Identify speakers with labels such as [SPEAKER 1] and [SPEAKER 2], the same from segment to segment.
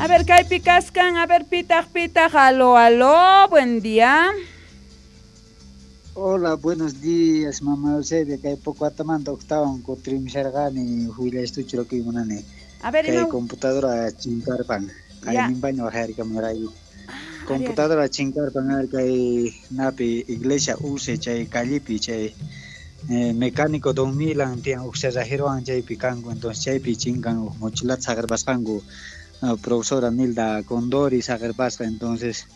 [SPEAKER 1] A ver, kaypi kaskan, a ver, pitaq, pitaq, aló, aló, buen día.
[SPEAKER 2] Hola, buenos días, mamá Eusebia, kay Pocoatamanta octawan kutirimusharqani huillaystuchu munani.
[SPEAKER 1] A ver,
[SPEAKER 2] kay computadora chinkarpan, kayninpaña waqyarikamurayku. Computadora chinkarpan ari kay napi iglesia use chay callepi chay mecánico Don Milan tiyan huk cerrajerowan chaypi kanku, entonces chaypi chinkan huk mochilata saqerpasqanku, profesora Nilda Condori saqerpasqa, entonces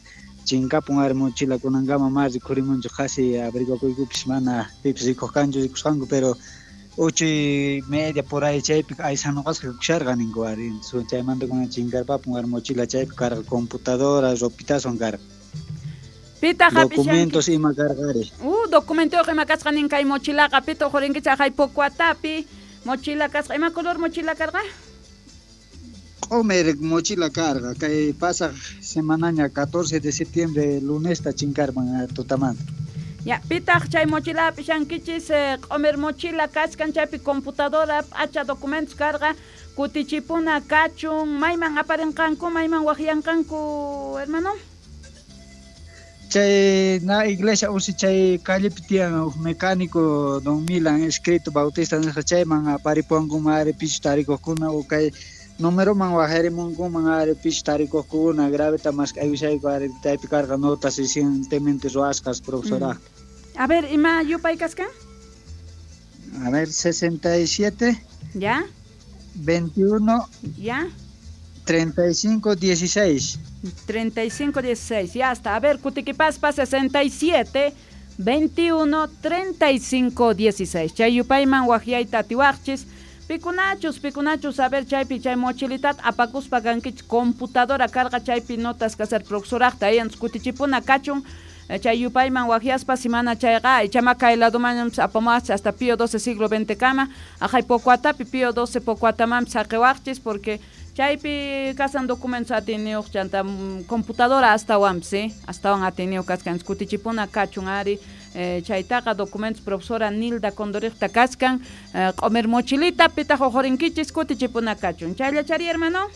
[SPEAKER 2] chinkapun ari mochila kunankama ma rikhurimunchu, qhasi averiguakuykupis mana pipis rikuq kanchu rikusqanku, pero 8:30 por ahí chaypi aysanuqasqa kusharqa ninku ari, chaymanta kunan chinkarpapun ari mochila chaypi karqa computadora ropitaswan karqa.
[SPEAKER 1] Pitaq
[SPEAKER 2] documentos ima karqa ari.
[SPEAKER 1] Documentoyuq ima kasqa nin kay mochilaqa, pitaq uqhurinkichik haqay Pocoatapi mochila kasqa, ima color mochila karqa?
[SPEAKER 2] Q'umir mochila karqa, kay pasaq semanaña 14 de septiembre lunesta chinkarman tutamanta.
[SPEAKER 1] Ya, pitaq chay mochila hap'ishankichis, q'umir mochila kachkan chaypi computadora p'acha documentos karqa, kutichipuna kachun, mayman aparinqanku, mayman waqyanqanku, hermano?
[SPEAKER 2] Chay na iglesia usi chay callepi tiyan huk mecánico Don Milan escrito Bautista nisqa chayman aparipuwankuman ari pichu tarikuqkuna o kay numeroman waqyarimunkuman ari pichu tarikuqkuna graveta mask'aykushayku ari chaypi karqa notas recientemente ruwasqas profesora.
[SPEAKER 1] A ver, ima yupay kaskan?
[SPEAKER 2] A ver, 67.
[SPEAKER 1] Ya.
[SPEAKER 2] 21.
[SPEAKER 1] Ya.
[SPEAKER 2] 35, 16.
[SPEAKER 1] 35, 16, ya está. A ver, kutiquipaspa 67, 21, 35, 16. Chay yupayman waqyayta atiwaqchis. Pikunachus, pikunachus, a ver, chaypi chay mochilitat apakuspa kankichik computadora karqa chaypi notas kasar profesoraqta ayan kutichipuna kachun. Chay yupayman waqyaspa simana chayqa ichama kay laduman apamuwaqchis hasta Pío XII siglo XX kama aqhay Pocoatapi Pío XII Pocoatamanpis saqewaqchis porque chaypi kasan documentos atiniyuq chanta computadora astawanpis, astawan atiniyuq kachkan kutichipuna kachun ari chaytaqa documentos profesora Nilda Condoriqta kachkan q'umir mochilita pitaq uqhurinkichis kutichipuna kachun. Chayllachari, hermano?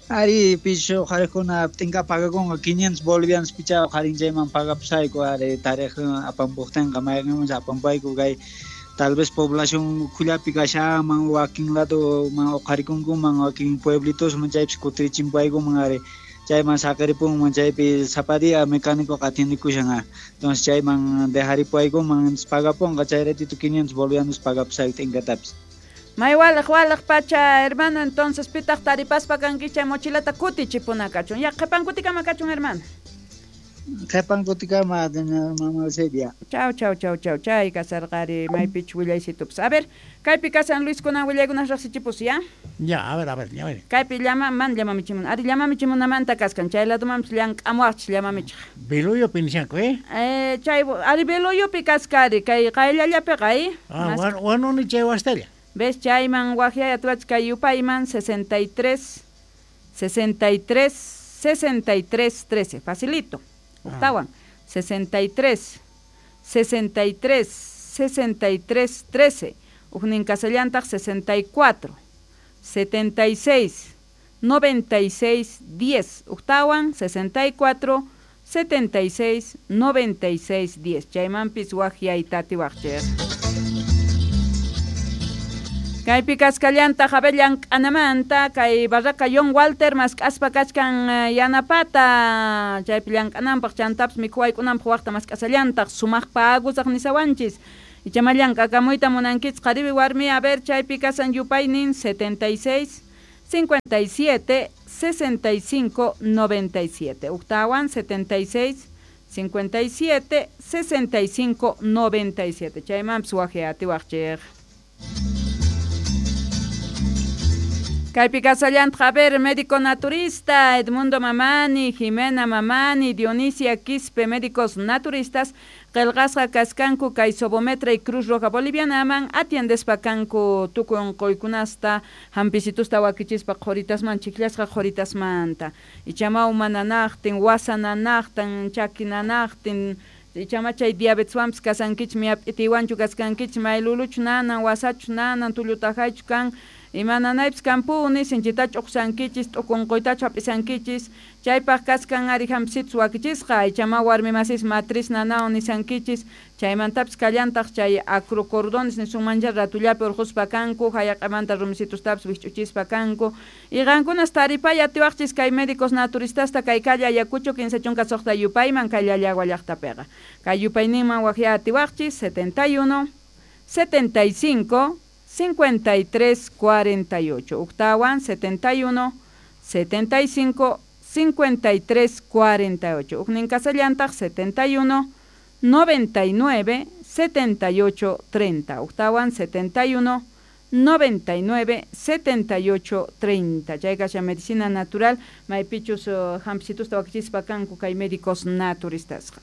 [SPEAKER 2] Ari pichu uqharikuna p'inka pagakunqa 500 bolivianos picha uqharin chayman pagapusayku ari tariq apampuqtinqa mayqinmanchus apampayku kay tal vez población ukhullapi kashanman wakin ladoman uqharikunkuman wakin pueblitosman chaypis kutirichimpaykuman ari chayman saqiripunman chaypi sapa día mecánico atiendekushan, entonces chayman dejaripaykuman pagapunqa chay ratito 500 bolivianos pagapusayku t'inkatapis.
[SPEAKER 1] May walaq walaq pacha, hermano, entonces pitaq taripaspa kankichik chay mochilata kutichipuna kachun. Ya qhipan kutikama kachun, hermano.
[SPEAKER 2] Qhipan kutikama, mamá Eusebia.
[SPEAKER 1] Chau, chau, chau, chau, chay kasarqari maypich willaysitupis. A ver, kaypi kasan Luis kunan willaykunas riqsichipus, ya?
[SPEAKER 3] Ya, a ver, a ver, ya ver.
[SPEAKER 1] Kaypi llama, man llamamichimun. Ari llamamichimunamanta kaskan, chay ladumanpis llank'amuwaqchis llamamichiq.
[SPEAKER 3] Biluyupi nishanku, eh?
[SPEAKER 1] Chay, ari Biluyupi kaskari, kay qayllallapiqa, eh?
[SPEAKER 3] Ah, wanuni chay wastalla.
[SPEAKER 1] ¿Ves? Chayman waqyay atuach kay yupayman 63, 63, 63, 13. Facilito. Octawan. 63, 63, 63, 13. Ujnin kasallantaq 64, 76, 96, 10. Octawan 64, 76, 96, 10. Chaymanpis waqyay tatiwaqchik. Kaypi kaskallantaq a ver llank'anamanta kay barraca John Walter mask'aspa kachkan yanapata chaypi llank'ananpaq chantapis mikhuwaykunanpaq waqta mask'asallantaq sumaq pagusaq nisawanchis ichama llank'akamuyta munankichis qhariwi warmi a ver chaypi kasan yupaynin 76 57 65 97 uktawan 76 57 65 97 chaymanpis waqya atiwaqchik. Kaypi kasallantaq, a ver, médico naturista, Edmundo Mamani, Jimena Mamani, Dionisia Quispe, médicos naturistas, qillqasqa kaskanku kay Sobometra y Cruz Roja Bolivianaman atiendespa kanku tukuy unquykunasta hampisitusta wakichispa qhuritasman chikllasqa qhuritasmanta ichama uma nanaqtin, wasa nanaqtin, chaki nanaqtin, ichama chay diabeteswanpis kasankichik, miyap'itiwanchu kaskankichik, mayluluchu nanan, wasachu nanan, tullutajaychu kan, Imananaypis kampuni sinchitachu uqsankichis t'ukunquytachu hap'isankichis chaypaq kaskan ari hampisitus wakichisqa aychama warmi masis matriz nanawan nisankichis chaymantapis kallantaq chay acrocordones nisunmancha ratullapi urquspa kanku hayaq'amanta rumisitustapis wikch'uchispa kanku y qankunas taripay atiwaqchis kay médicos naturistasta kay calle Ayacucho 16 yupayman kay Llallagua llaqtapiqa kay yupayninman waqya atiwaqchis 71 75 53 48 octawan 71 75 53 48 uknin kasallantaq 71 99 78 30 octawan 71 99 78 30 chay kashan medicina natural maypichus hampicitusta wakichispa kanku kay médicos naturistasqa.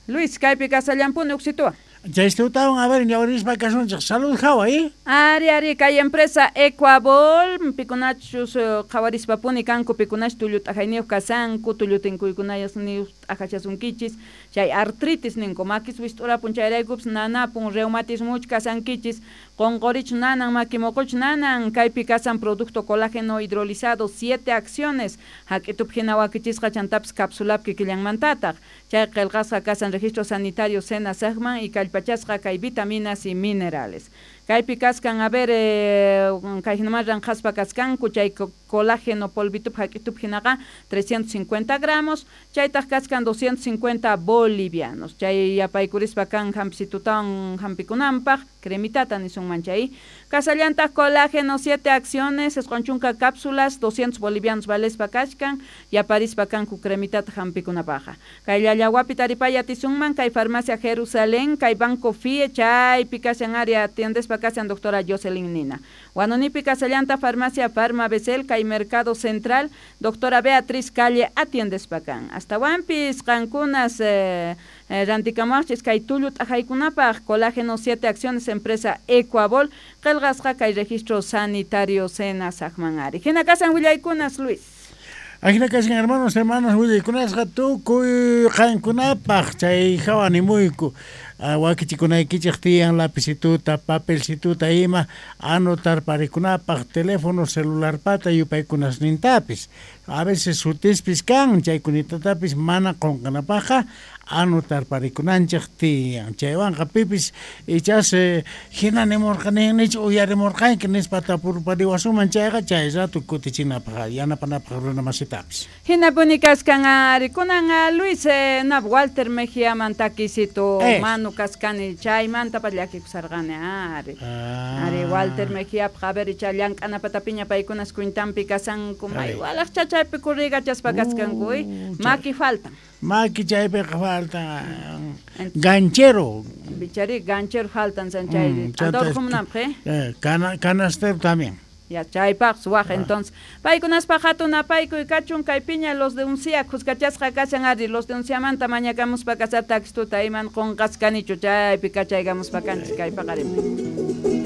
[SPEAKER 1] Luis, kaypi kasallampuni uksituwan.
[SPEAKER 3] Chaystutawan, a ver, ñawirispa kasunchik. Salud hawa, ¿eh?
[SPEAKER 1] Ari, ari, kay empresa Ecuabol, pikunachus qhawarispapuni kanku, pikunach tullu t'ajayniyuq kasanku, tullu tinkuykunayuq t'ajachasunkichis, chay artritis ninku, makis wist'urapun chayraykupis nanapun, reumatismuch kasankichis, qonqorich nanan, makimoquch nanan, kaypi kasan producto colágeno hidrolizado, 7 acciones, hak'itup hina wakichisqa chantapis capsulap kikillanmantataq, chay qillqasqa kasan registro sanitario SENASAGman y kallpachasqa kay vitaminas y minerales. Kaypi kaskan, a ver, kay hinaman ranqhaspa kaskanku, chay colágeno polvitup hak'itup hinaqa 350 gramos, chaytaq kaskan 250 bolivianos. Chay yapaykurispa kan hampisitutawan hampikunanpaq, cremitata nisunman chay. Kasallantaq colágeno 7 acciones, isqun chunka cápsulas, 200 bolivianos valespa kachkan, yaparispa kanku cremitata hampikunapaqqa. Kay Llallawapi taripay atisunman, kay farmacia Jerusalén, kay Banco FIE, chaypi kashan área atiendespa kasan doctora Jocelyn Nina. Huanonipi kasallanta farmacia Farma Becel, kay Mercado Central, doctora Beatriz Calle atiendespa kan. Hasta wampis qankunas rantikamuaqchis kay tullu t'ajaykunapaq colágeno 7 acciones empresa Ecuabol, qillqasqa kay registro sanitario SENASAGman ari. Hina kasan willaykunas, Luis.
[SPEAKER 3] Ajina kashan hermanos, hermanas, willaykunasqa tukuy qankunapaq chay hawa nimuyku. Wakichikunaykichik tiyan lapicituta, papelcituta ima anotar parikunapaq teléfono celularpata yupaykunasnintapis. A veces sutispis kan chaykunatatapis mana qunqanapaqqa anotar parikunanchik tiyan. Chaywanqa pipis ichas hina nimurqani nich uyarimurqanki nispa tapurpariwasuman chayqa chay rato kutichinapaq yanapanapaq runa masitapis.
[SPEAKER 1] Hinapuni kaskan ari kunan Luis nab Walter Mejía mantakisito manu kaskani chaymanta llakikusarqani ari. Ari Walter Mejía a ver icha llank'anapatapiña paykunas cuentanpi kasanku may walaq chachaypi kurrigachaspa kaskanku maki faltan.
[SPEAKER 3] Maki chaypiqa faltan ganchero.
[SPEAKER 1] Bichari ganchero faltan sanchay. Adorjumunanpaq,
[SPEAKER 3] canastero también.
[SPEAKER 1] Ya chaypaq suwaq entonces. Paykunaspaq hatun apaykuy kachun kay piña los de uncia kuskachasqa kashan ari los de unciamanta mañakamuspa kasar taxistuta iman qunqaskanichu chaypi kachaykamuspa kanchis kay paqarinpi.